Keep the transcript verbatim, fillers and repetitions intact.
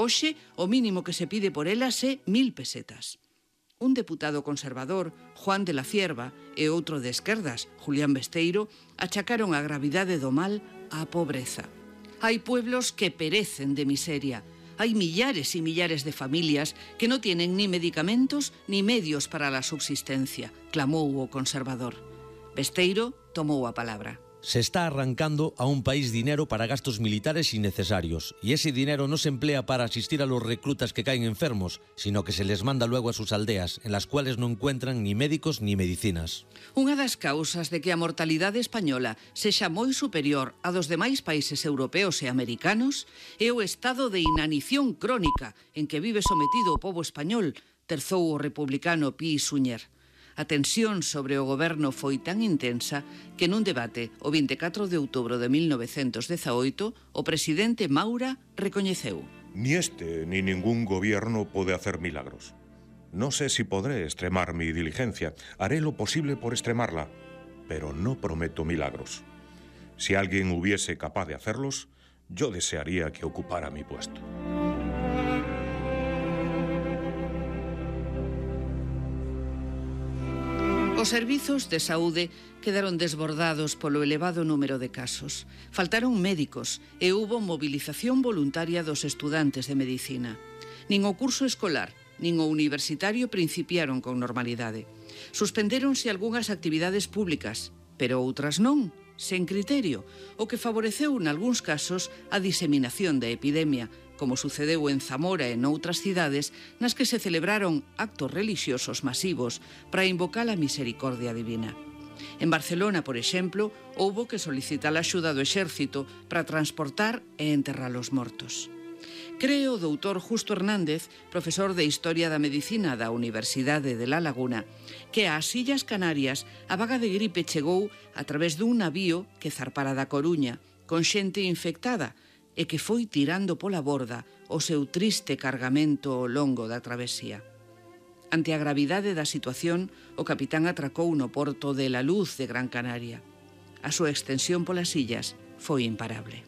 Hoxe, o mínimo que se pide por elas é mil pesetas. Un deputado conservador, Juan de la Cierva, e outro de esquerdas, Julián Besteiro, achacaron a gravidade do mal á pobreza. Hai pueblos que perecen de miseria. Hay millares y millares de familias que no tienen ni medicamentos ni medios para la subsistencia, clamou o conservador. Besteiro tomou a palabra. Se está arrancando a un país dinero para gastos militares innecesarios, y ese dinero no se emplea para asistir a los reclutas que caen enfermos, sino que se les manda luego a sus aldeas, en las cuales no encuentran ni médicos ni medicinas. Unha das causas de que a mortalidade española sexa moi superior a dos demais países europeos e americanos é o estado de inanición crónica en que vive sometido o pobo español, terzou o republicano Pi Suñer. A tensión sobre o goberno foi tan intensa que nun debate o vinte e catro de outubro de mil novecentos dezaoito o presidente Maura recoñeceu: Ni este ni ningún gobierno puede hacer milagros. No sé si podré extremar mi diligencia. Haré lo posible por extremarla, pero no prometo milagros. Si alguien hubiese capaz de hacerlos, yo desearía que ocupara mi puesto. Os servizos de saúde quedaron desbordados polo elevado número de casos. Faltaron médicos e hubo movilización voluntaria dos estudantes de medicina. Nin o curso escolar, nin o universitario principiaron con normalidade. Suspendéronse algunhas actividades públicas, pero outras non, sen criterio, o que favoreceu nalgúns casos a diseminación da epidemia, como sucedeu en Zamora e noutras cidades nas que se celebraron actos relixiosos masivos para invocar a misericordia divina. En Barcelona, por exemplo, houbo que solicitar a axuda do exército para transportar e enterrar os mortos. Cree o doutor Justo Hernández, profesor de Historia da Medicina da Universidade de La Laguna, que ás Illas Canarias a vaga de gripe chegou a través dun navío que zarpara da Coruña, con xente infectada, e que foi tirando pola borda o seu triste cargamento ao longo da travesía. Ante a gravidade da situación, o capitán atracou no porto de La Luz de Gran Canaria. A súa extensión polas illas foi imparable.